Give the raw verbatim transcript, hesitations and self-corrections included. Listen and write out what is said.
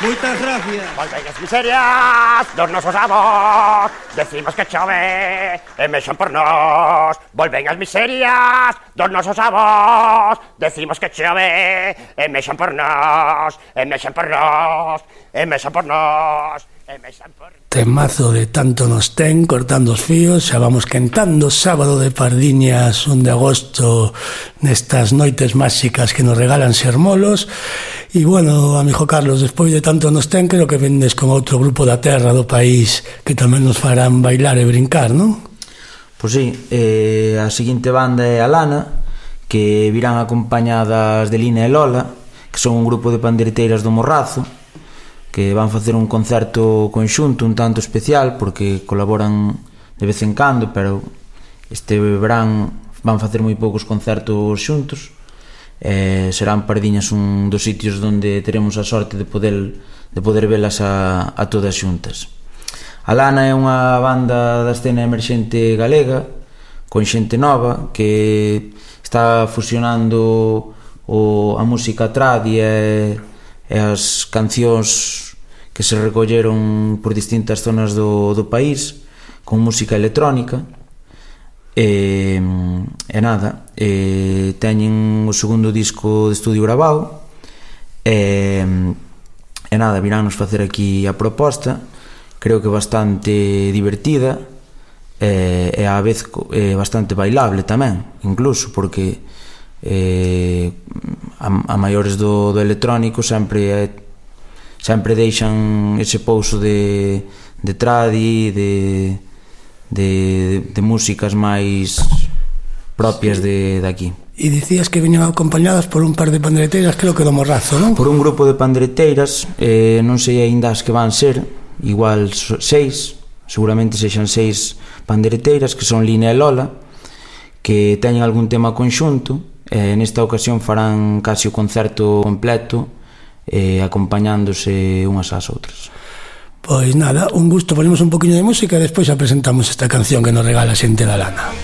Moitas gracias. Volven as miserias dos nosos avós, decimos que chove e mexan por nós. Volven as miserias dos nosos avós, decimos que chove e mexan por nós, e mexan por nós, e mexan por nós. Temazo de Tanto nos ten, cortando os fíos. Xa vamos quentando sábado de Pardiñas, un de agosto, nestas noites máxicas que nos regalan Sermolos. E bueno, amigo Carlos, despois de Tanto nos ten, creo que vendes con outro grupo da terra do país que tamén nos farán bailar e brincar, non? Pois sí, eh, a seguinte banda é a Lana, que virán acompañadas de Lina e Lola, que son un grupo de pandeireteiras do Morrazo, que van facer un concerto conxunto un tanto especial porque colaboran de vez en cando, pero este verán van facer moi poucos concertos xuntos. Eh, serán Pardiñas un dos sitios onde teremos a sorte de poder de poder velas a, a todas xuntas. A Lana é unha banda da escena emerxente galega con xente nova que está fusionando o, a música tradi e e as cancións que se recolleron por distintas zonas do, do país con música electrónica e, e nada e teñen o segundo disco de estudio grabado e, e nada, viránnos facer aquí a proposta, creo que bastante divertida e, e á vez e bastante bailable tamén, incluso porque eh, a, a maiores do, do electrónico sempre eh, sempre deixan ese pouso de, de tradi, de, de, de músicas máis propias de, de aquí. E dicías que viñan acompañadas por un par de pandeireteiras, creo que do Morrazo, non? Por un grupo de pandeireteiras, eh, non sei aínda as que van ser, igual seis, seguramente sexan seis pandeireteiras, que son Lina e Lola, que teñen algún tema conxunto. Eh, nesta ocasión farán casi o concerto completo eh, acompañándose unhas ás outras. Pois nada, un gusto, ponemos un poquinho de música e despois apresentamos esta canción que nos regala a xente da Lana.